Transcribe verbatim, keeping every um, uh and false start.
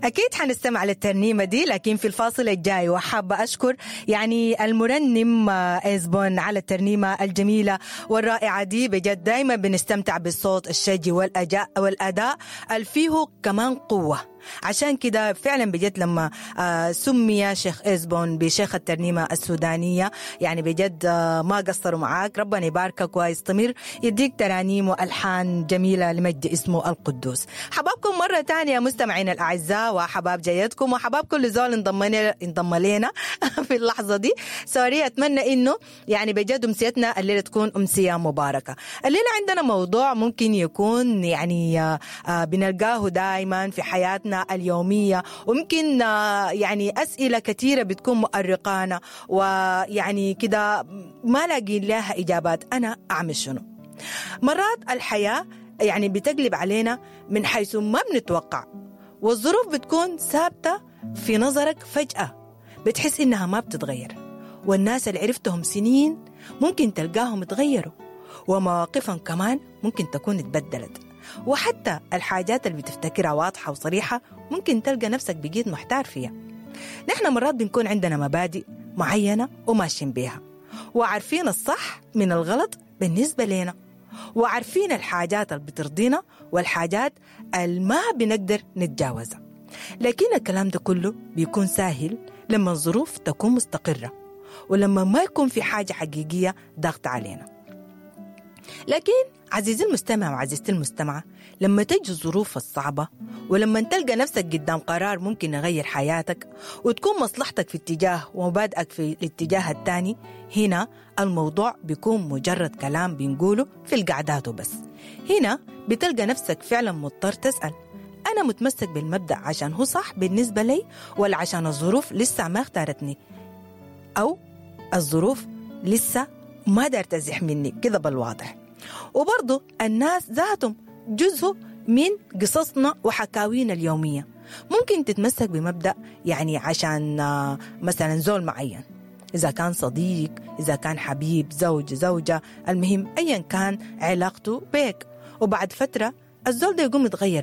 أكيد حنستمع للترنيمة دي لكن في الفاصل الجاي، وحابة أشكر يعني المرنم إزبون على الترنيمة الجميلة والرائعة دي. بجد دايما بنستمتع بالصوت الشجي والأجاء والأداء الفيه كمان قوة. عشان كده فعلا بجد لما سمي شيخ إزبون بشيخ الترنيمة السودانية، يعني بجد ما قصروا معاك، ربنا يباركك ويستمر يديك ترانيم وألحان جميلة لمجد اسمه القدوس. حبابكم مرة تانية مستمعين الأعزاء، وحباب جيدكم، وحباب كل زول انضم انضم لنا في اللحظة دي. سوري، أتمنى إنه يعني بجد أمسيتنا الليلة تكون أمسية مباركة. الليلة عندنا موضوع ممكن يكون يعني بنلقاه دائما في حياتنا اليومية، وممكن يعني أسئلة كثيرة بتكون مؤرقانا ويعني كده ما لاقين لها إجابات. أنا أعمل شنو؟ مرات الحياة يعني بتقلب علينا من حيث ما بنتوقع، والظروف بتكون ثابتة في نظرك فجأة، بتحس إنها ما بتتغير، والناس اللي عرفتهم سنين ممكن تلقاهم تغيروا، ومواقفهم كمان ممكن تكون اتبدلت، وحتى الحاجات اللي بتفتكرها واضحة وصريحة ممكن تلقى نفسك بقيت محتار فيها. نحن مرات بنكون عندنا مبادئ معينة وماشيين بيها، وعارفين الصح من الغلط بالنسبة لنا، وعارفين الحاجات اللي بترضينا والحاجات اللي ما بنقدر نتجاوزها. لكن الكلام ده كله بيكون سهل لما الظروف تكون مستقرة، ولما ما يكون في حاجة حقيقية ضغط علينا. لكن عزيزي المستمع وعزيزتي المستمعة، لما تجي الظروف الصعبة، ولما تلقى نفسك قدام قرار ممكن يغير حياتك وتكون مصلحتك في اتجاه ومبادئك في الاتجاه الثاني، هنا الموضوع بيكون مجرد كلام بنقوله في القعدات وبس. هنا بتلقى نفسك فعلا مضطر تسأل، أنا متمسك بالمبدأ عشان هو صح بالنسبة لي، ولا عشان الظروف لسه ما اختارتني، أو الظروف لسه ما دار تزح مني كده بالواضح. وبرضو الناس ذاتهم جزء من قصصنا وحكاوينا اليومية. ممكن تتمسك بمبدأ يعني عشان مثلا زول معين، إذا كان صديق، إذا كان حبيب، زوج، زوجة، المهم أيا كان علاقته بيك، وبعد فترة الزول ده يقوم يتغير